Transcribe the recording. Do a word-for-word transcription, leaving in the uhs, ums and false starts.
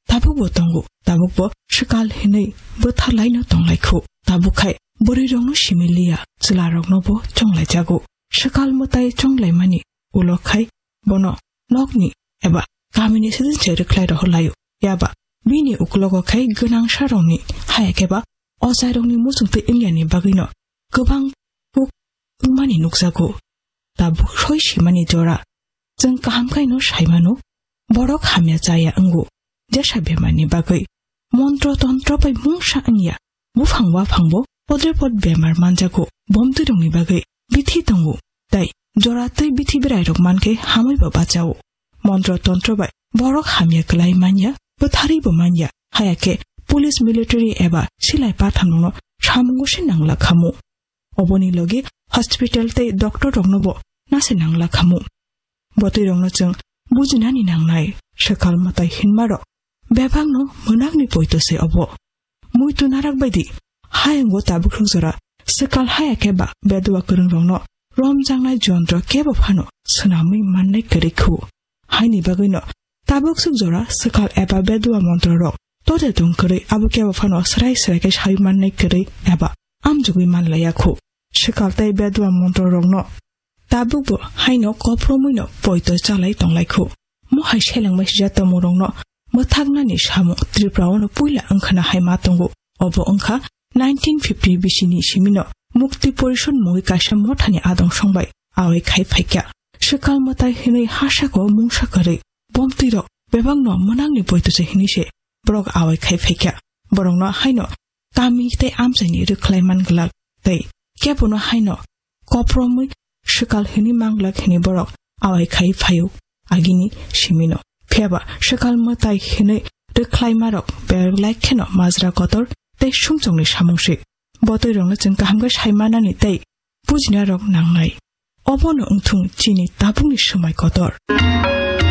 tabukbo tongo, tabukbo swkal hinwi bwtharlaino tonglaikhu. Tabuk khai bwrwirokno simi liya, chwlaroknobo chonglaijago. Swkal mwtai chonglaimani ulo khai bono nokni eba kamini sidin se rwkhlai rohorlaio. Yaba bini uklogo khai gwnangsarokni haya khe ba ochairokni muchungtwi wngyani bagwino kwbang buk wngmani nukjago. Tabuk soi simani jora chwng kaham khaino saimano, borok hamya chaya wngo. Jesa bemarni bagwi montro tontro bai mungsa wngya, buphang waphangbo podre pod bemar manjago. Bomtwirokni bagwi bithi tongo, tai jora twi bithi berairok mankhe hamwibo bachao. Montro tontro bai borok hamya kwlai manya, bwtharwibo manya. Haya khe police, military eba silai pathanrokno samungo se nangla khamu. Oboni logi hospital tei doctor roknobo nase nangla khamu. Botwi rokno chwng bujinani nangnai, swkal mwtai hinmarok bebakno mwnakni poito se obo. Muitu narak baidi hayungo tabuk rok jora swkal haya khe ba bedua kwrwng rokno romjaknai jontro kebo phano swnamwi mannai kwrwi khu. Haini bagwino tabuk swk jora swkal eba bedua montro rok tode tong kwrwi abo kebo phano srai srai khe sai mannai kwrwi eba amjugwi manlaiya khu. Swkal tei bedua montro rokno tabukbo haino kopromwino poito chalai tonglaikhu. Mohai selengmai sijak tongmungrokno mwthaknani samung Tripura-ono puila wngkhana hai ma tongo. Obo wngkha nineteen fifty bisini simino Mukti Porishod mungwi kaisa mothani adong songbai awai khai phaikha. Swkal mwtai hinwi hasako mungsa kwrwi bomtwirok bebakno mwnakni poito se hinwi se borok awai khai phaikha. Borokno haino kami tei amchaini rwkhlai man glak tei kebono haino kopromwi swkal hwnwi man glak hwnwi borok awai khai phaio agini simino. Phiyaba swkal mwtai hwnwi rwkhlaimarok belai kheno majra kotor tei sumsokni samung se. Botwirokno chwng kaham khe sai manani tei bujinarok nangnai. Obono wngthung chini tabukni swmai kotor.